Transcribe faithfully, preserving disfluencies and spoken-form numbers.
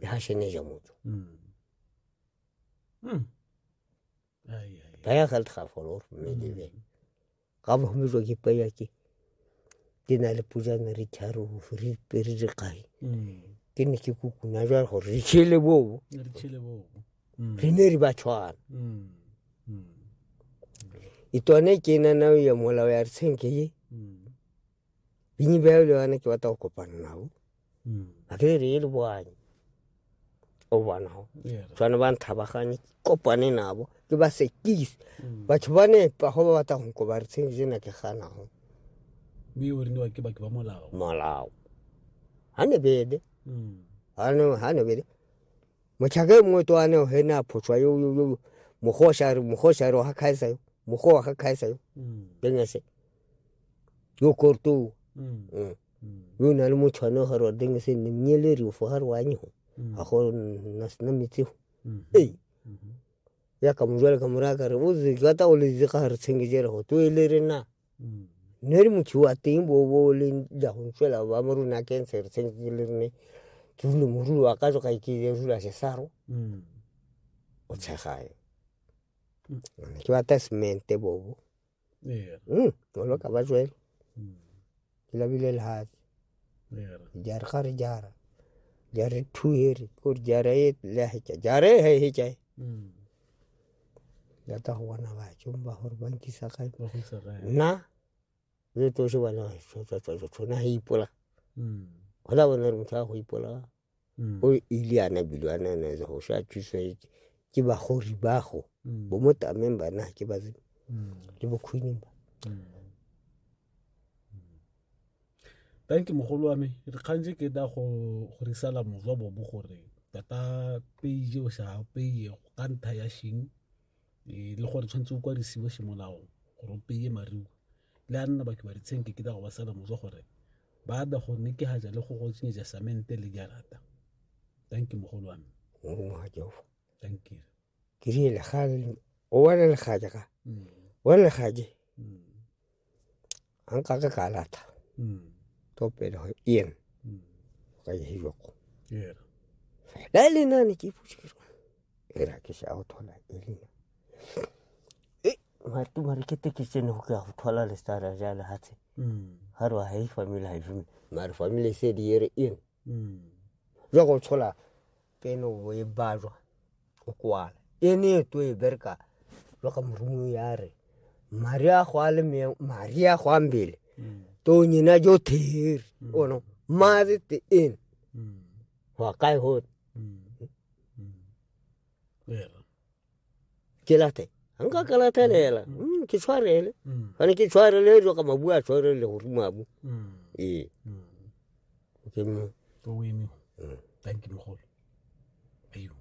Hasheneja motho. Mm. Mm. Ai ai. Baya galt ga folor mme lebe. Ga bo mjo ke paya ke. Ke na le pujana re tharo re pere re kae. Mm. Ke ne ke kukuna jwa gore re tshele bo. Re tshele bo. Mm. Re ne re ba tshwana. Mm. Mm. Itone ke na na ya molao ya re tshenke ye. Mm. Binyi ba le bana ke batla go kopana nabo. Mm. A ke re le boanye. O bona ho. Yeah. Tshwana ba nthabaganye kopane nabo ke ba sekise. Mm. Batho ba ne pa go ba batla go nkoba re tshenke jena ke gana ho. Mme o riniwa ke baki ba molao. Molao. Ha ne bede. Mm. Ha ne ha ne bede. Mochaka mongwe to ane he na photswa yo yo yo mogosha re mogosha re ha khaisa yo. Mogo ha khaisa yo. Mm. Dengese. Yo korto. Mm. Mm. Mm. Yo na le motho ga re dengese ne mnyele re fo ha re wa nyo. Mm. Ha go na sna metsi. Mm. Ei. Mm. Ya ka mojwale ka moraka re o ze gata o le ga re tshengejere go to ele re na. Mm. Ne re motho wa teng bo bo le ja go ntswela ba mo rona ke ntse re tshengele re ne. Ke rule morulu wa ka jo ka ke rula se saro. Mm. O tshegae. Mm. Ke batla semente bobo. Yeah. Mm, o lo ka ba jwele. Mm. Ke labile lehatshe. Yeah. Jara ga re jara. Jara two here, ko jara e le hetja. Jara e he hetja. Mm. Ya ta go bona ba tšomba gore ba nkisa kae. Ba go isa kae. Nna le to se bona tso tso tso tso na ipola. Mm. Go la bona re motho a go ipola. Mm. O ile ana bilwana na go sha thuso ke ba gori ba go. Mm. Bo mo tameng bana ke ba tse. Mm. Le bo khwini ba. Mm. Thank you mogolo wa me. Re kgantse ke da go go risala mozwa bobo gore tata page o sa peye ka ntha ya shing e le gore tshwantse o kwadisiwe semolao gore o peye mariu le a nna ba ke ba ditshenke ke da go ba sala mozwa gore ba da go ne ke haja le go go tsenyetsa samente le jarata. Thank you mogolo wa me. Mo ha Jehova. Thank you. Ke rile ga o wa le ga ga. Mm. Wa le ga je. Mm. An ka ka ka lata. Mm. To pele ho ien. Mm. Ka ye joko. Yeah. La le na ne ke putse ke. Era ke sha o thola e le. E martu mare ke te ke tsene ho ka go thola le stara ja le hatse. Mm. Ha ro ha e family ha e family. Mare family se di ere ien. Mm. Jwa go thola peno bo e bajwa o kwala. E ne to e berka jwa ka morumo ya re. Maria go a le me Maria go ambele. Mm. To nyina jo theri Mm. ono mazi te in. Mm. Wa kai ho. Mm. Mm. Yeah. Ke late. Nka ka latelela. Mm, ke tshwarele. Mm. Fane ke tshwarele jo ka mabua tshwarele go ruma bu. Mm. E. Mm. Ke mo. To o eme. Mm. Thank you mogolo. Ayo.